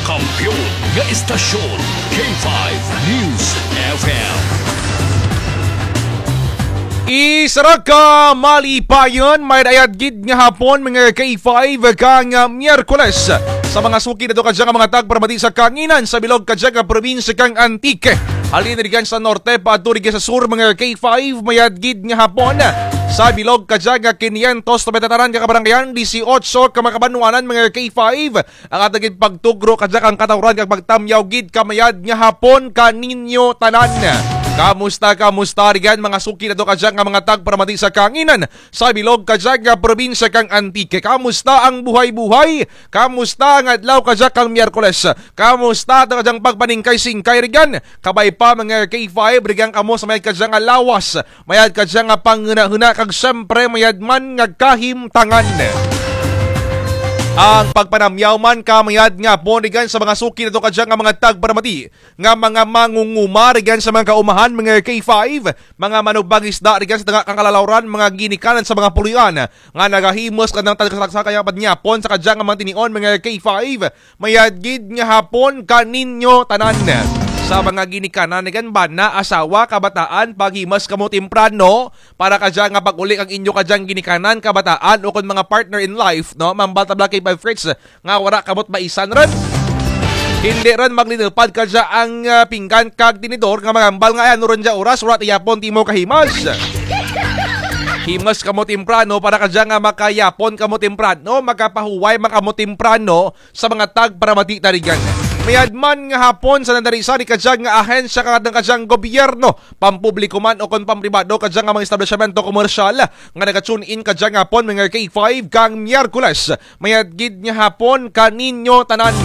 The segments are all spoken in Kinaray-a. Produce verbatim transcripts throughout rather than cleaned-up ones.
Kampiyon nga istasyon, K five News F M. Isara ka malipayon, mayad-ayad gid nga hapon, mga K five, kang, ah, Miyerkules. Sa mga suki nato kadya nga mga tagparamati sa kahanginan sa bilog kadya nga probinsya kang Antique. Halin rugyan sa norte, paadto rugyan sa sur, mga K five, mayad gid nga hapon. Sa bilog kadya nga kinyentos nobenta tanan ka kabaranggayan, disiotso ka mga kabanwanan, mga K five. Ang atun gid pagtugro kadya kang katawran kag pagtamyaw gid kamayad nga hapon kaninyo tanan. Kamusta, kamusta rugyan mga suki nato kadya nga mga tagparamati sa kahanginan sa bilog kadya nga probinsya kang Antique? Kamusta ang buhay-buhay? Kamusta ang adlaw kadya kang Miyerkules? Kamusta ang kadyang pagpaningkay-singkay rugyan? Kabay pa mga K five, rugyan kamo sa mayad kadya nga lawas, mayad kadya nga panghunahuna, kag siyempre mayad man nga kahimtangan. Ang pagpanamyaw man kamayad nga hapon rugyan sa mga suki nato kadya nga mga tagparamati, nga mga mangunguma rugyan sa mga kaumahan, mga K five, mga manugbangisda rugyan sa tanga kang kalalawran, mga ginikanan sa mga puloy-an nga nagahimos kang tagsa-tagsa ka pangyapon sa kadya nga mga tinion, mga K five. Mayad gid nga hapon kaninyo tanan. Sa mga ginikanan, rugyan bana, asawa, kabataan, paghimos kamo temprano para kadya nga pag-uli kang inyo kadyang ginikanan, kabataan, ukon mga partner in life, no? Mambal ta bala K five Fritz nga wara kamo't maisan run. Hindi run maglinupad kadya ang, ah, pinggan kag tinidor nga mangambal nga ay ano run dya oras, wara ti yapon timo kahimos. Himos kamo temprano para kadya nga makayapon kamo temprano, makapahuway man kamo temprano, sa mga tagparamati ta rugyan. Mayad man nga hapon sa nanda rugyan sa kadya nga ahensya kag kadyang gobyerno, pampubliko man ukon pampribado, kadya nga mga establisyamento komersyal nga naga-tune in kadya nga hapon, mga K five, kang Miyerkules. Mayad gid nga hapon kaninyo tanan.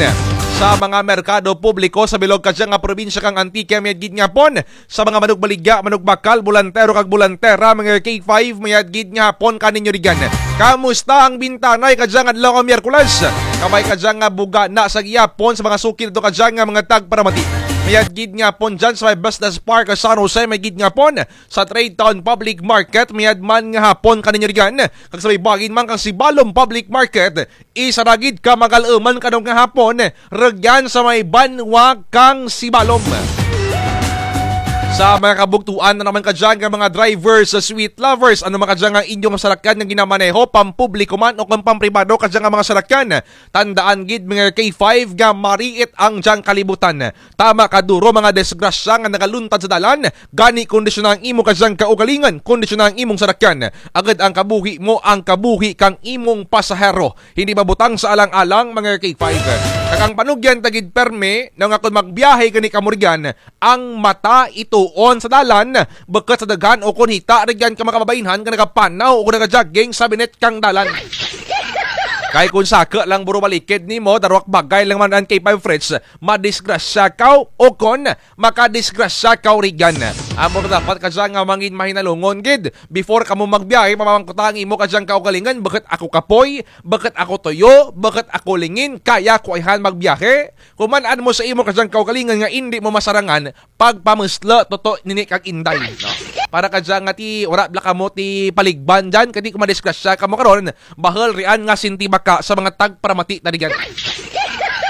Sa mga merkado publiko sa bilog kadya nga probinsya kang Antique, mayad gid nga hapon. Sa mga manugbaligya, manugbakal, bolantero kag bolantera, mga K five, mayad gid nga hapon kaninyo rugyan. Kamusta ang bintanay kadya nga adlaw kang Miyerkules? Kabay kadya nga bugana sa gihapon sa mga suki nato kadya nga mga tagparamati. Mayad gid nga hapon dyan sa may Business Park sa San Jose, mayad gid nga hapon sa Trade Town Public Market, mayad man nga hapon kaninyo rugyan. Kag sa may bahin man kang Sibalom Public Market, isara gid ka magal-uman kadyang nga hapon, rugyan sa may banwa kang Sibalom. Sa mga kabugtuan na naman kadya nga mga drivers, sweet lovers, ano man kadya nga inyong sarakyan nga ginamaneho, pampubliko man ukon pampribado kadya nga mga sarakyan, tandaan gid, mga K five, nga mariit ang dyang kalibutan. Tama ka duro mga disgrasya nga nagaluntad sa dalan, gani kondisyona ang imo kadyang kaugalingon, kondisyona ang imong sarakyan. Agud ang kabuhi mo, ang kabuhi kang imong pasahero. Hindi mabutang sa alang-alang, mga K five. Kag ang panugyan ta gid permi, nga kon magbiyahe gani kamo rugyan, ang mata ituon sa dalan, bukut sa daghan ukon hita rugyan ka mga kababainhan nga nagapanaw ukon nagajogging sa binit kang dalan. Kay kon saku lang buro balikid nimo, darwa ka bagay lang man ang K five Fritz, madisgrasya kaw ukon makadisgrasya kaw rugyan. Amo ra dapat kadya nga mangin mahinalungon gid. Before kamo magbiyahe, mamangkuta ang imo kadyang kaugalingon, bukut ako kapoy, bukut ako tuyo, bukut ako lingin, kaya ko ayhan magbiyahe? Kon man-an mo sa imo kadyang kaugalingon nga indi mo masarangan, pagpamuslo, tuto, nini kag inday, no? Para kadya nga ti, wara bala kamo ti paligban dyan, kadi kon madisgrasya kamo karon, bahul rian nga sentibaka sa mga tagparamati ta rugyan.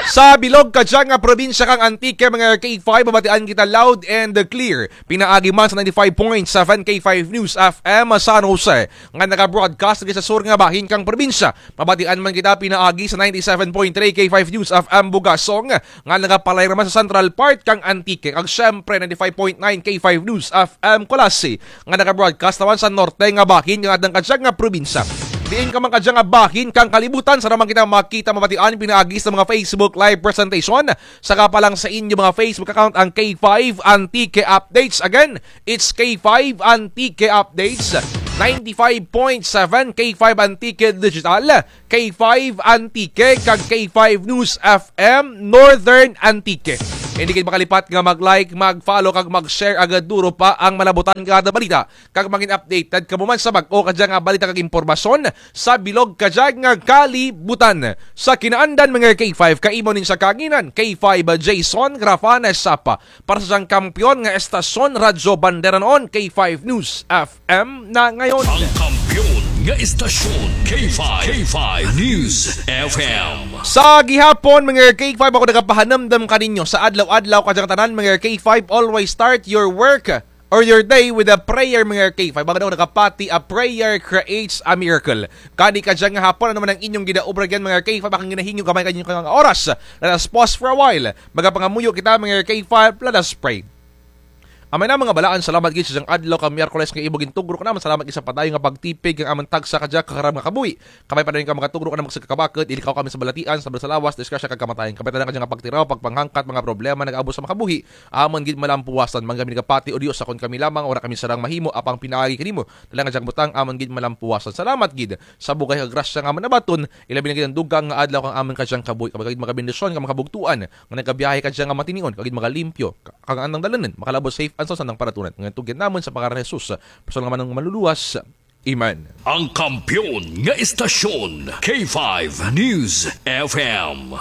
Sa bilog kadya nga probinsya kang Antique, mga K five, mabatian kita loud and clear. Pinaagi man sa ninety-five point seven K five News F M San Jose, nga naga-broadcast rugya sa sur nga bahin kang probinsya. Mabatian man kita pinaagi sa ninety-seven point three K five News F M Bugasong, nga nagapalayra man sa central part kang Antique, kag siyempre ninety-five point nine K five News F M Culasi, nga naga-broadcast naman sa norte nga bahin kang atun kadya nga probinsya. Diin ka man kadya nga bahin kang kalibutan, sara man kita makita, mabatian pinaagi sa mga Facebook Live presentation, saka pa lang sa inyo mga Facebook account ang K five Antique Updates. Again, it's K five Antique Updates, ninety-five point seven K five Antique Digital, K five Antique, kag K five News F M Northern Antique. Hindi gid makalipat nga mag-like, mag-follow, kag mag-share agud duro pa ang malabutan nga balita. Kag mangin updated kamo man sa bag-o kadya nga balita kag impormasyon sa bilog kadya nga kalibutan. Sa kinaandan, mga K five, kaimo nin sa kahanginan, K five Jason Grafana Sapa. Para sa dyang kampiyon nga estasyon, Radyo Bandera noon, K five News F M na ngayon. Ang kampiyon nga istasyon, K five, K five News F M. Sa gihapon, mga K five, ako nagapahanumdum kaninyo sa adlaw-adlaw, kadyang tanan, mga K five, always start your work or your day with a prayer, mga K five. Mga daw nakapati, a prayer creates a miracle. Kani kadyang hapon, ano man ang inyong ginaobra dyan, mga K five, akong ginahingyo gamay kanyo nga oras. Let us pause for a while. Magapangamuyo kita, mga K five, let us pray. Amay na, mga balaan, salamat gid sa dyang adlaw kang Miyerkules nga imo gintugro kanamun. Salamat gid sa padayon nga pagtipig kang amun tagsa kadya ka karam nga kabuhi. Kami padayon ka makatugro kanamun sa kakabakod, ilikaw kami sa balatian, sa lawas, disgrasya kag kamatayon. Kami tanan kadya nga pagtiraw, pagpanghangkat, mga problema, nag-abo sa makabuhi. Amun gid malampuwasan, man kami nagapati, O Dios, kon kami lamang, wara kami sarang mahimo, apang pinaagi kanimo. Tanan kadyang butang, amun gid malampuwasan. Salamat gid sa bugay kag grasya nga amun nabaton, ilabi na gid ang dugang nga adlaw kang amun kadyang kabuhi. Kami gid magabendisyon, kang mga kabugtuan, nga nagabiyahe kadya nga matinion, kag gid magalimpyo, ka-, kang andang dalunun, makalabot safe and sound sa andang paratunan. Nga tugyan namun sa pangaran ni Jesus, personal nga man ang manluluwas. Amen. Ang kampiyon nga istasyon, K five News F M.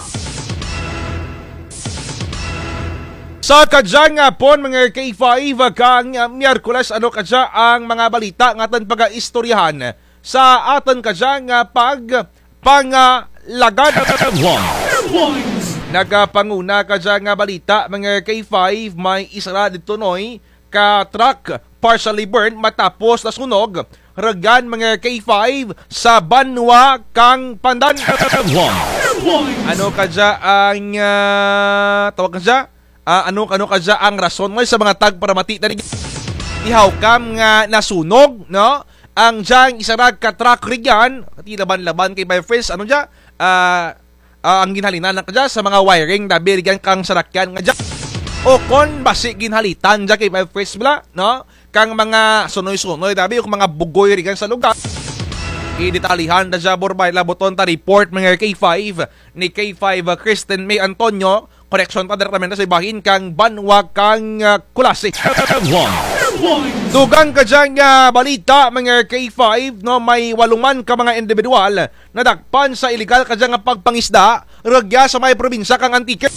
Sa kadyang hapon, mga K five, kang, ah, Miyerkules, ano kadya ang mga balita nga atun pagaistoryahan sa atun kadyang, ah, pag-, pangalagad. Nagapanguna kadya nga balita, mga K five, may isara didto, Noy, ka truck partially burned matapos nasunog. Rugyan, mga K five, sa banwa kang Pandan. Ano kadya ang, ah, tawag kadya? Ah, ano, ano kadya ang rason, Noy, sa mga tagparamati tadi? Ti how come nga nasunog, no? Ang dyang isara ka truck rugyan, ti laban-laban kay by friends, ano dya? Ah, ah, ang ginhalinan na kadya sa mga wiring, dabi rugyan kang sarakyan nga dya. O kon basi ginhalitan dya kay by friends bala, no? Kang mga sunoy-sunoy, dabi, o mga bugoy rugyan sa lugar. Idetalihan ta dya, Borbay, labuton ta report, mga K five, ni K five, ah, Kristen May Antonio, koreksyon ta direktamente sa ibahin kang banwa kang, ah, Culasi. Dugang kadya nga balita, mga K five, no, may walo man ka mga indibidwal nadakpan sa iligal kadya nga pagpangisda rugya sa may probinsya kang Antique.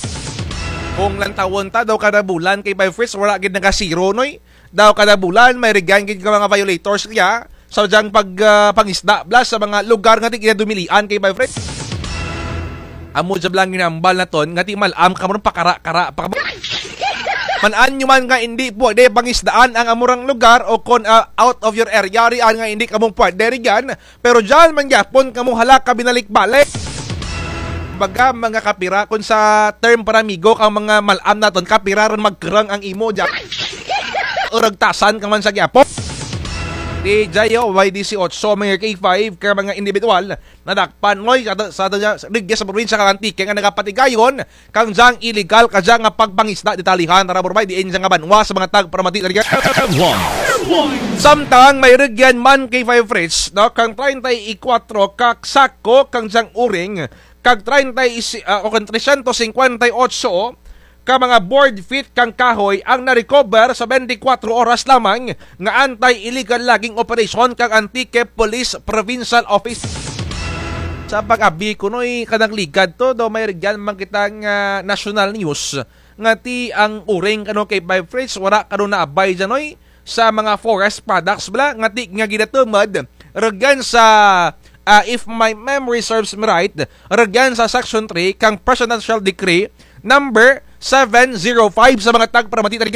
Kon lantawon ta daw kada bulan kay by friends, wara gid nagasiro, Noy. Daw kada bulan, may rugyan gid ka mga violators kaya sa dyang pag, ah, pangisda bala sa mga lugar nga ti ginadumilian kay by friends. Amo dya bala ang ginahambal naton, nga ti mal-am kamo run pakara-kara pa kamo. Man-an nyo man nga indi pwede pangisdaan ang amo rang lugar o kon, ah, out of your area riyan nga indi kamo pwede rugyan, pero dyan man gyapon kamo hala ka binalik-balik. Kumbaga, mga kapira, kon sa term para amigo kang mga mal-am naton, kapira run magkurang ang imo dyan. Uragtasan ka man sa gyapon. Ti dya, o, may disiotso, mga K five, ka mga indibidwal nadakpan, Noy, sa, sa, sa, rugya sa probinsya kang Antique nga nagapatigayon kang dyang iligal kadya nga pagpangisda. Detalihan ta ra, Borbay, diin dya nga banwa sa mga tagparamati tadi. Samtang may rugyan man, K five Fritz, no, kang treinta y cuatro ka sako kang dyang uring, kag treinta y si-, ah, o kang trescientos cincuenta y ocho ka mga board feet kang kahoy ang na-recover sa bente kwatro oras lamang nga anti-illegal logging operation kang Antique Police Provincial Office. Sa pag-abi ko, Noy, kanang ligad to, daw may rugyan man kita nga national news nga ti ang uring kano kay by friends, wara kano naabay dyan, Noy, sa mga forest products bala nga ti nga ginatumod rugyan sa, ah, if my memory serves me right, rugyan sa Section three kang Presidential Decree number seven zero five sa mga tagparamati tadi.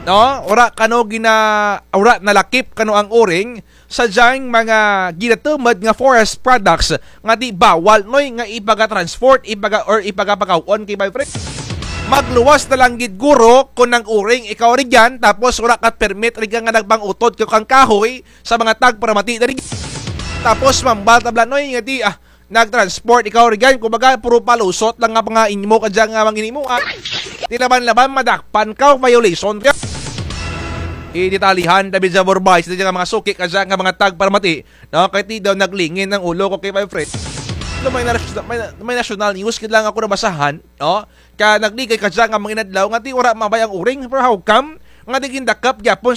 No, wara kano gina-, wara nalakip kano ang uring sa dyang mga ginatumod nga forest products nga ti bawal, Noy, nga ipaga-transport, ipaga-, or ipagapakaw-on kay by friends. Magluwas na lang gid guro kon nag-uring ikaw rugyan, tapos wara ka permit rugyan nga nagpang-utod ka kang kahoy sa mga tagparamati tadi. Tapos mambal ta bala, Noy, nga ti, ah, nag-transport ikaw rugyan, kumbaga, puro palusot lang nga mga inyo kadya nga mga ginimo, ah. Ti laban-laban, madakpan ka, violation ka. Idetalihan ta bi dya, Borbay, sa dya nga mga suki kadya nga mga tagparamati, no? Kay ti daw naglingin ang ulo ko kay my friend. No, may na-, may, may national news gid lang ako nabasahan, no? Ka nagligay kadya nga mga inadlaw nga ti wara maabay ang uring, pero how come nga ti gindakop gyapon sa